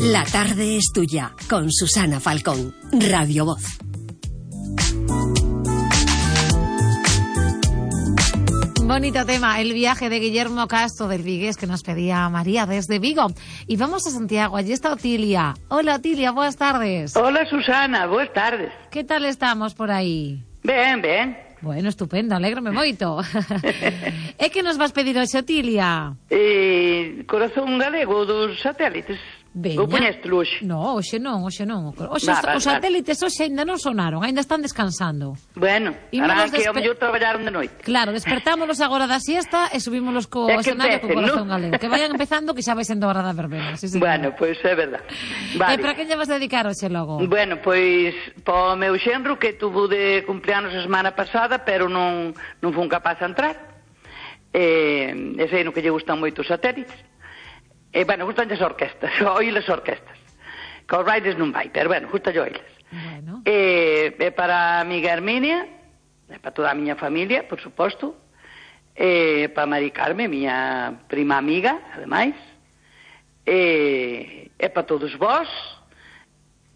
La tarde es tuya, con Susana Falcón, Radio Voz. Bonito tema, el viaje de Guillermo Castro del Vigués que nos pedía María desde Vigo. Y vamos a Santiago, allí está Otilia. Hola Otilia, buenas tardes. Hola Susana, buenas tardes. ¿Qué tal estamos por aí? Ben, ben. Bueno, estupendo, alégrome moito. É que nos vas pedir hoxe, Otilia? Corazón galego dos satélites. Veña. Ou poñeste hoxe? No, hoxe non. Hoxe os satélites hoxe ainda non sonaron, ainda están descansando. Bueno, harán que ao mellor traballaron de noite. Claro, despertámonos agora da siesta e subímonos co escenario co Corazón galego. Que vayan empezando, que xa vai sendo hora da verbena. Sí, bueno, pois é verdad. Vale. E para que lle vas dedicar hoxe logo? Bueno, pois po meu xenro que tuvo de cumpleanos a semana pasada, pero non fun capaz de entrar. E sei no que lle gustan moito os satélites. Bueno, gustan as orquestas, oí as orquestas. Que os bailes non vai, pero bueno, gusta yo oíles. Bueno. Para a amiga Herminia, para toda a miña familia, por suposto, para Mari Carme, miña prima amiga, ademais, para todos vós,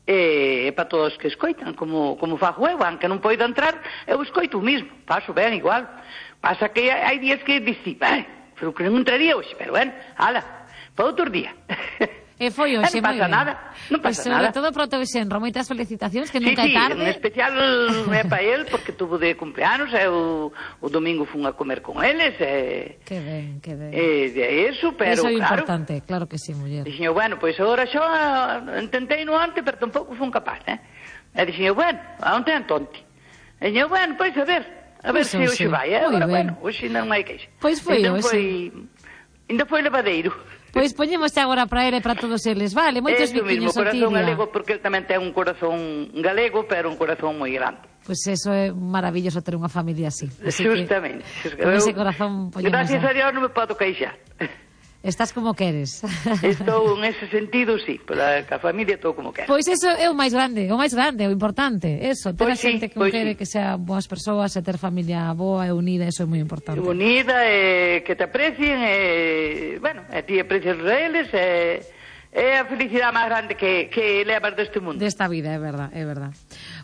para todos que escoitan, como fago eu, aunque non poido entrar, eu escoito o mismo, paso ben igual. Pasa que hai días que dici, pero que non entraría hoxe, pero bueno, ala, para outro día. E foi hoxe, non pasa nada, non pasa nada. Sobre todo para o teu xenro, moitas felicitacións, que nunca é tarde. Sí, en especial é para el, porque tuvo de cumpleanos, o domingo fun a comer con eles. Que ben, que ben. Eso, pero eso é claro. Importante, claro que sí, muller. Dixen, bueno, pois agora xo intentei no antes, pero tampouco fun capaz, E dixen, bueno, onte antonte. E dixen, bueno, pois a ver se hoxe vai, Agora, bueno, hoxe non hai queixa. Pois foi hoxe. Ainda foi levadeiro. Pois poñemos agora para ele e para todos eles, vale? Moitos biquiños, Otilia. Corazón galego, porque ele tamén ten un corazón galego, pero un corazón moi grande. Pois eso é maravilloso ter unha familia así. Justamente. Con ese corazón poñemos... Gracias a Dios non me podo queixar. Estás como queres. Estou en ese sentido, sí, pero a familia estou como quero. Pois eso é o máis grande, o importante, eso, ter a xente que quere que sean boas persoas e ter familia boa e unida, eso é moi importante. Unida, que te aprecien, bueno, e ti aprecias a eles, é a felicidade máis grande que levas deste mundo. Desta vida, é verdad.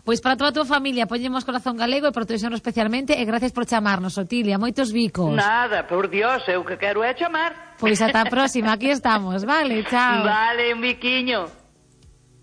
Pois para toda a tua familia poñemos Corazón galego e para o teu xenro especialmente, e gracias por chamarnos, Otilia, moitos bicos. Nada, por Dios, eu que quero é chamar. Pois ata a próxima, aquí estamos, vale, chao. Vale, un biquiño.